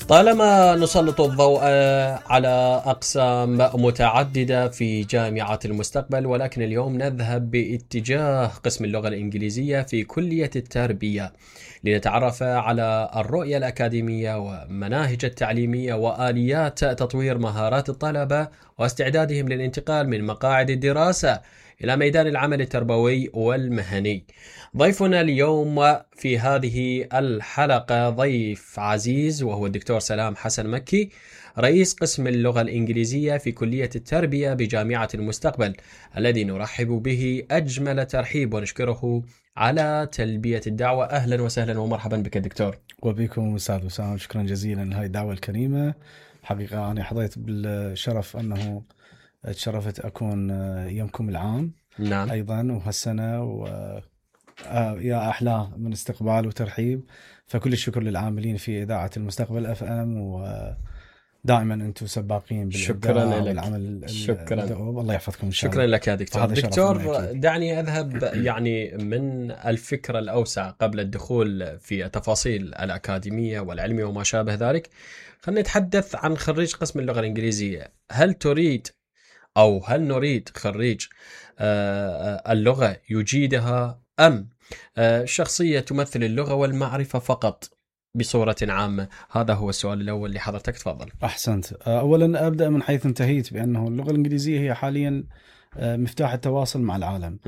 طالما نسلط الضوء على أقسام متعددة في جامعة المستقبل، ولكن اليوم نذهب باتجاه قسم اللغة الإنجليزية في كلية التربية لنتعرف على الرؤية الأكاديمية ومناهج التعليمية وآليات تطوير مهارات الطلبة واستعدادهم للانتقال من مقاعد الدراسة إلى ميدان العمل التربوي والمهني. ضيفنا اليوم في هذه الحلقة ضيف عزيز، وهو الدكتور سلام حسن مكي، رئيس قسم اللغة الإنجليزية في كلية التربية بجامعة المستقبل، الذي نرحب به أجمل ترحيب ونشكره على تلبية الدعوة. أهلا وسهلا ومرحبا بك دكتور. وبكم أستاذ وسام، شكرا جزيلا لهذه الدعوة الكريمة. حقيقة أنا حظيت بالشرف أنه تشرفت أكون يومكم العام. نعم. أيضا وهالسنة يا أحلى من استقبال وترحيب. فكل الشكر للعاملين في إذاعة المستقبل FM، ودائما أنتم سباقين بالإبداع والعمل. شكرا. الله يحفظكم إن شاء الله. شكرا لك يا دكتور. دكتور دعني أذهب يعني من الفكرة الأوسع قبل الدخول في التفاصيل الأكاديمية والعلمية وما شابه ذلك. خلينا نتحدث عن خريج قسم اللغة الإنجليزية. هل تريد أو هل نريد خريج اللغة يجيدها، أم شخصية تمثل اللغة والمعرفة فقط بصورة عامة؟ هذا هو السؤال الأول لحضرتك، تفضل. أحسنت. أولا أبدأ من حيث انتهيت، بأنه اللغة الإنجليزية هي حاليا مفتاح التواصل مع العالم،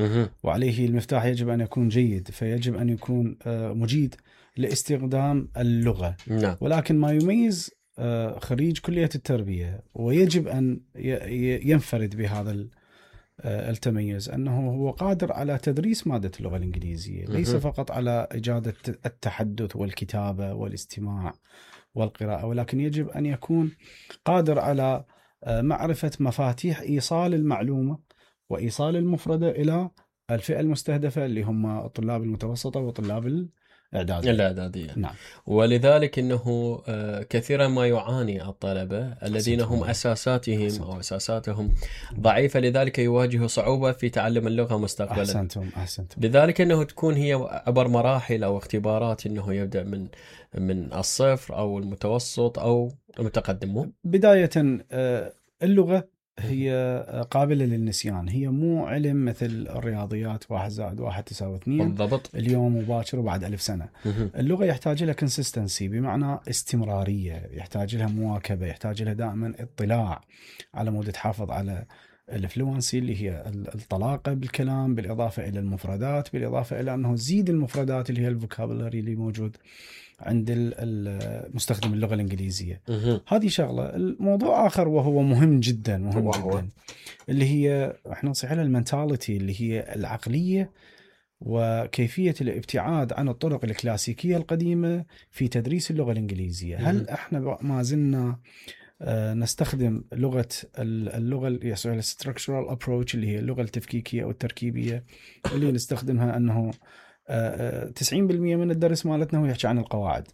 وعليه المفتاح يجب أن يكون جيد، فيجب أن يكون مجيد لاستخدام اللغة. نعم. ولكن ما يميز خريج كلية التربية ويجب أن ينفرد بهذا التميز، أنه هو قادر على تدريس مادة اللغة الإنجليزية، ليس فقط على إجادة التحدث والكتابة والاستماع والقراءة، ولكن يجب أن يكون قادر على معرفة مفاتيح إيصال المعلومة وإيصال المفردة إلى الفئة المستهدفة، اللي هم الطلاب المتوسطة وطلاب الإعدادية. نعم. ولذلك أنه كثيرا ما يعاني الطلبة الذين هم أساساتهم ضعيفة، لذلك يواجهوا صعوبة في تعلم اللغة مستقبلا. أحسنتم. لذلك أنه تكون هي عبر مراحل أو اختبارات، أنه يبدأ من الصفر أو المتوسط أو المتقدم. بداية اللغة هي قابلة للنسيان، هي مو علم مثل الرياضيات 1 زائد 1 تساوي 2 بالضبط، اليوم مباشر وبعد 1000 سنة. اللغة يحتاج لها consistency، بمعنى استمرارية، يحتاج لها مواكبة، يحتاج لها دائما اطلاع على مود تحافظ على الفلوانسي اللي هي الطلاقة بالكلام، بالإضافة إلى المفردات، بالإضافة إلى أنه تزيد المفردات اللي هي الفوكابولاري اللي موجود عند المستخدم اللغة الإنجليزية. هذه شغلة. الموضوع آخر وهو مهم جدا جدا، اللي هي احنا نصيح لها المنتاليتي، اللي هي العقلية وكيفية الابتعاد عن الطرق الكلاسيكية القديمة في تدريس اللغة الإنجليزية. هل احنا ما زلنا نستخدم اللغة الستراكشرال ابروتش، اللي هي اللغة التفكيكية أو التركيبية، اللي نستخدمها أنه 90% من الدرس مالتنا هو يحكي عن القواعد.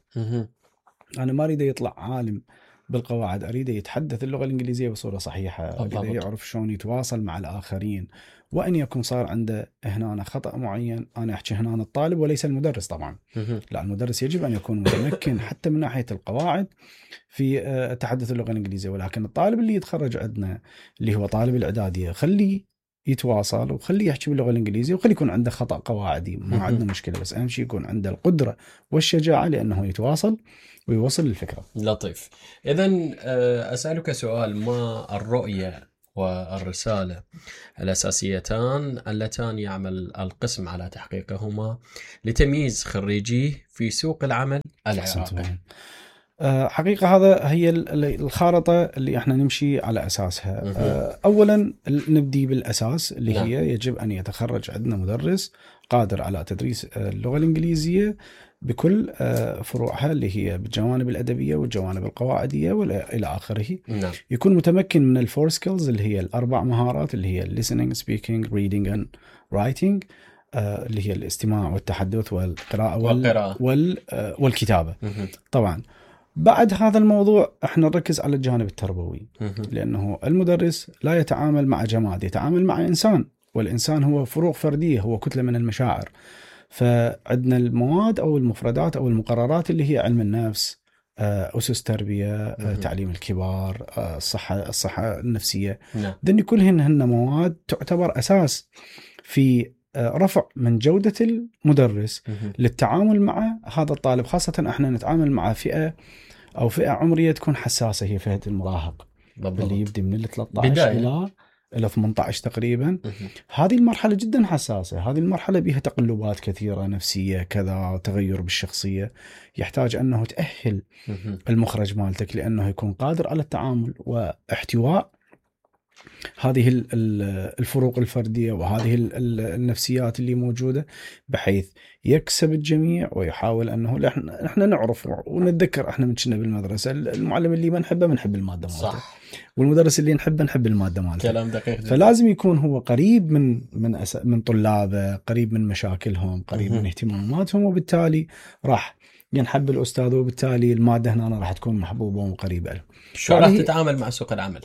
أنا ما أريد يطلع عالم بالقواعد، أريد يتحدث اللغة الإنجليزية بصورة صحيحة، أريد يعرف شلون يتواصل مع الآخرين، وأن يكون صار عنده هنا خطأ معين. أنا أحكي هنا الطالب وليس المدرس طبعا. لا، المدرس يجب أن يكون متمكن حتى من ناحية القواعد في تحدث اللغة الإنجليزية، ولكن الطالب اللي يتخرج عندنا اللي هو طالب الإعدادية، خليه يتواصل وخليه يحكي باللغة الإنجليزية، وخليه يكون عنده خطأ قواعدي، ما عندنا مشكلة، بس أهم شيء يكون عنده القدرة والشجاعة لأنه يتواصل ويوصل الفكرة. لطيف. إذن أسألك سؤال: ما الرؤية والرسالة الأساسيتان اللتان يعمل القسم على تحقيقهما لتمييز خريجيه في سوق العمل العراقي؟ حقيقة هذا هي الخارطة اللي احنا نمشي على أساسها. أولا نبدي بالأساس، اللي هي يجب أن يتخرج عندنا مدرس قادر على تدريس اللغة الإنجليزية بكل فروعها، اللي هي بالجوانب الأدبية والجوانب القواعدية وإلى آخره. يكون متمكن من الفور سكيلز، اللي هي الأربع مهارات، اللي هي listening, speaking, reading and writing، اللي هي الاستماع والتحدث والقراءة والكتابة. طبعا بعد هذا الموضوع احنا نركز على الجانب التربوي، لأنه المدرس لا يتعامل مع جماد، يتعامل مع إنسان، والإنسان هو فروق فردية، هو كتلة من المشاعر. فعندنا المواد أو المفردات أو المقررات اللي هي علم النفس أسس تربية، تعليم الكبار، الصحة النفسية. نعم. ذني كلهن مواد تعتبر أساس في رفع من جودة المدرس للتعامل مع هذا الطالب، خاصة احنا نتعامل مع فئة عمرية تكون حساسة، هي فئة المراهق بالضبط. اللي يبدي من 13 إلى 18 تقريبا. هذه المرحلة جدا حساسة، هذه المرحلة بها تقلبات كثيرة نفسية كذا، تغير بالشخصية، يحتاج أنه تأهل المخرج مالتك لأنه يكون قادر على التعامل واحتواء هذه الفروق الفردية وهذه النفسيات اللي موجودة، بحيث يكسب الجميع ويحاول أنه احنا نعرف ونتذكر احنا من كنا بالمدرسة، المعلم اللي ما نحبه بنحب المادة مالته، صح. والمدرس اللي نحب المادة مالته. كلام دقيق جدا. فلازم يكون هو قريب من طلابه، قريب من مشاكلهم، قريب من اهتماماتهم، وبالتالي راح ينحب الأستاذ، وبالتالي المادة هنا راح تكون محبوبة وقريبة له. شو راح تتعامل مع سوق العمل؟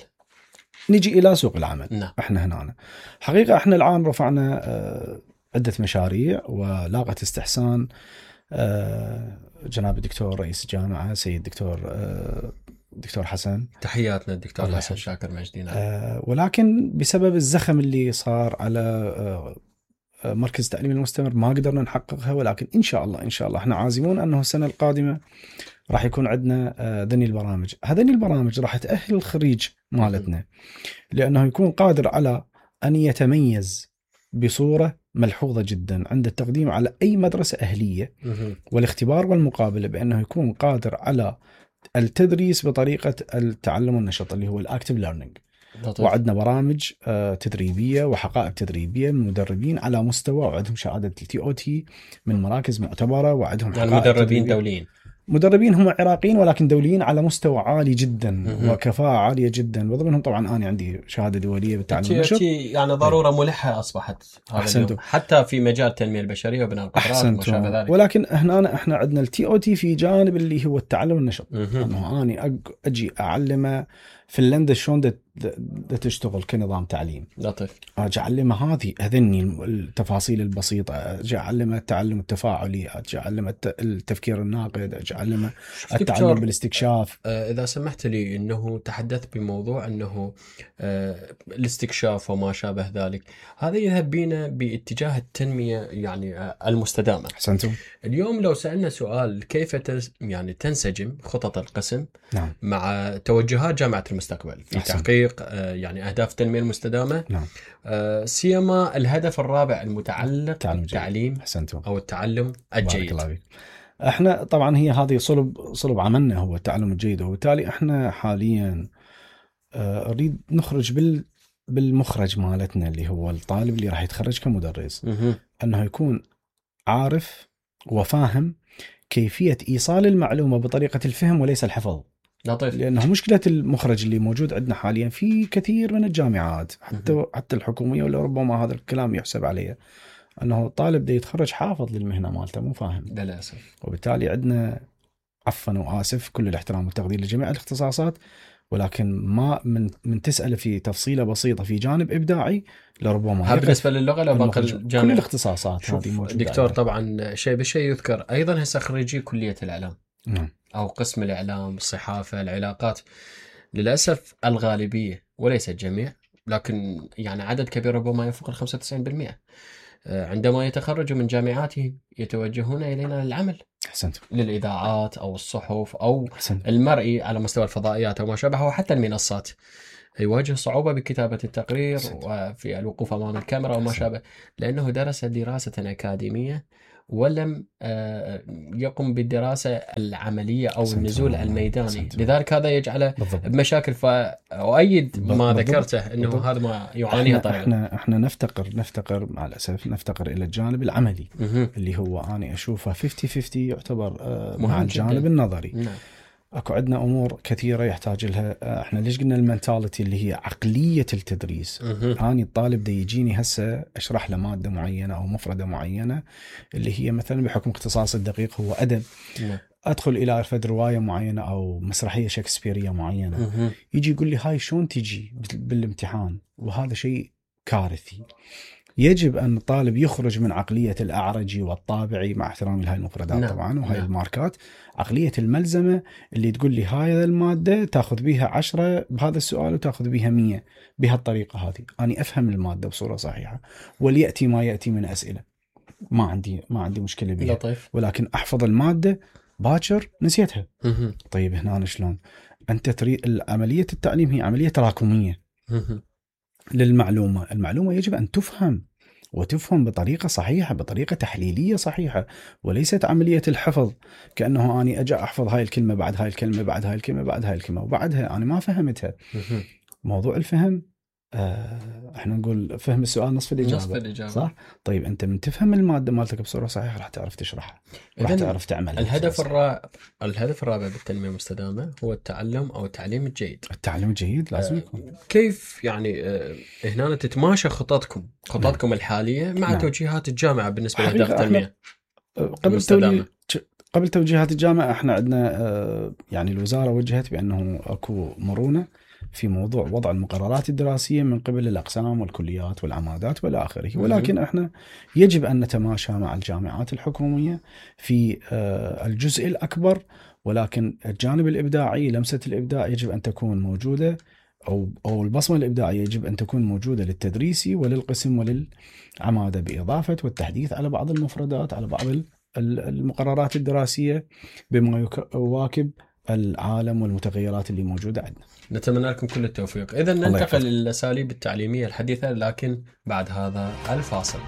نجي إلى سوق العمل. نعم. احنا هنا حقيقة احنا الآن رفعنا عدة مشاريع ولاقت استحسان جناب الدكتور رئيس الجامعة سيد دكتور حسن. تحياتنا الدكتور حسن شاكر مجدي. ولكن بسبب الزخم اللي صار على مركز التعليم المستمر ما قدرنا نحققها، ولكن إن شاء الله احنا عازمون أنه السنة القادمة راح يكون عندنا ذني البرامج. هذني البرامج راح تأهل الخريج مالتنا لأنه يكون قادر على أن يتميز بصورة ملحوظة جدا عند التقديم على أي مدرسة أهلية، والاختبار والمقابلة، بأنه يكون قادر على التدريس بطريقة التعلم والنشاط اللي هو الأكتيف ليرنينج. وعندنا برامج تدريبية وحقائب تدريبية من مدربين على مستوى، وعندهم شهادة TOT من مراكز معتبرة، وعندهم يعني مدربين دوليين. مدربين هم عراقيين ولكن دوليين على مستوى عالي جدا وكفاءة عالية جدا، وضمنهم طبعا أنا عندي شهادة دولية بالتعلم والنشط. يعني ضرورة ملحة أصبحت هذا حتى في مجال التنمية البشرية وبناء القدرات وما شابه ذلك. ولكن احنا عندنا الTOT في جانب اللي هو التعلم والنشط، أنه أنا أجي أعلمه فنلندا شلون تشتغل كنظام تعليم، لطيف، أجي أعلمه هذني التفاصيل البسيطة، أجي أعلمه التعلم التفاعلي، أجي أعلمه التفكير الناقد، أجي أعلمه التعلم بالاستكشاف. إذا سمحت لي أنه تحدثت بموضوع أنه الاستكشاف وما شابه ذلك، هذا يذهب بينا باتجاه التنمية يعني المستدامة. أحسنتم. اليوم لو سألنا سؤال كيف يعني تنسجم خطط القسم نعم. مع توجهات جامعة المستقبل في تحقيق يعني أهداف التنمية المستدامة، نعم. سيما الهدف الرابع المتعلق بالتعليم أو التعلم الجيد. احنا طبعا هذه صلب عملنا هو التعلم الجيد، وبالتالي احنا حاليا نريد نخرج بالمخرج مالتنا اللي هو الطالب اللي راح يتخرج كمدرس، انه يكون عارف وفاهم كيفية إيصال المعلومة بطريقة الفهم وليس الحفظ. لطيف. لأنه مشكلة المخرج اللي موجود عندنا حاليا في كثير من الجامعات حتى الحكومية، ولا ربما هذا الكلام يحسب عليه، أنه الطالب ده يتخرج حافظ للمهنة مالته مو فاهم للأسف. وبالتالي عندنا عفوا وآسف كل الاحترام والتقدير لجميع الاختصاصات، ولكن ما من تسأل في تفصيلة بسيطة في جانب إبداعي لربما بالنسبة للغة لو باقي الجامعة. كل الاختصاصات هذه موجودة. دكتور طبعا شيء بالشيء يذكر أيضا هسه خريجي كلية الإعلام أو قسم الإعلام، الصحافة، العلاقات، للأسف الغالبية وليس الجميع، لكن يعني عدد كبير ربما يفوق 95% عندما يتخرجوا من جامعاتهم يتوجهون إلينا للعمل. أحسنت. للإذاعات أو الصحف أو المرئي على مستوى الفضائيات أو ما شابه، وحتى المنصات، يواجه صعوبة بكتابة التقرير وفي الوقوف أمام الكاميرا وما شابه، لأنه درس دراسة أكاديمية ولم يقم بالدراسة العملية أو النزول الميداني. لذلك هذا يجعله بمشاكل. فأؤيد ما ذكرته أنه هذا ما يعانيه طالب. احنا نفتقر مع الأسف نفتقر إلى الجانب العملي اللي هو أنا أشوفه 50-50 يعتبر مع الجانب النظري. نعم. اكو عندنا امور كثيره يحتاج لها. احنا ليش قلنا المنتاليتي اللي هي عقليه التدريس. اني الطالب ده يجيني هسه اشرح له ماده معينه او مفرده معينه اللي هي مثلا بحكم اختصاص الدقيق هو ادب، ادخل الى فد روايه معينه او مسرحيه شكسبيريه معينه، يجي يقول لي هاي شلون تجي بالامتحان، وهذا شيء كارثي. يجب أن الطالب يخرج من عقلية الأعرجي والطابعي، مع احترامي لهاي المفردات نعم. طبعا وهاي نعم. الماركات، عقلية الملزمة اللي تقول لي هاي المادة تاخذ بيها 10 بهذا السؤال وتاخذ بيها 100 بهالطريقة هذه. أنا أفهم المادة بصورة صحيحة وليأتي ما يأتي من أسئلة، ما عندي مشكلة بها، لطيف. ولكن أحفظ المادة باكر نسيتها. طيب هنا شلون؟ أنت تريد عملية التعليم هي عملية تراكمية للمعلومة. المعلومة يجب أن تفهم وتفهم بطريقة صحيحة، بطريقة تحليلية صحيحة، وليست عملية الحفظ كأنه أنا أجي أحفظ هاي الكلمة بعد هاي الكلمة بعد هاي الكلمة بعد هاي الكلمة وبعدها أنا ما فهمتها. موضوع الفهم احنا نقول فهم السؤال نصف الإجابة. صح؟ طيب أنت من تفهم المادة مالتك بصورة صحيحة راح تعرف تشرحها، راح تعرف تعمل. الهدف الرابع بالتنمية المستدامة هو التعلم أو التعليم الجيد. التعليم الجيد لازم يكون. كيف يعني هنا تتماشى خططكم الحالية مع توجيهات الجامعة بالنسبة لأهداف التنمية المستدامة؟ قبل توجيهات الجامعة احنا عندنا يعني الوزارة وجهت بأنه اكو مرونة في موضوع وضع المقررات الدراسية من قبل الأقسام والكليات والعمادات والى آخره، ولكن احنا يجب أن نتماشى مع الجامعات الحكومية في الجزء الأكبر، ولكن الجانب الإبداعي، لمسة الإبداع يجب أن تكون موجودة، أو البصمة الإبداعية يجب أن تكون موجودة للتدريسي وللقسم وللعمادة، بإضافة والتحديث على بعض المفردات، على بعض المقررات الدراسية بما يواكب العالم والمتغيرات اللي موجودة عندنا. نتمنى لكم كل التوفيق. إذن ننتقل للأساليب التعليمية الحديثة، لكن بعد هذا الفاصل.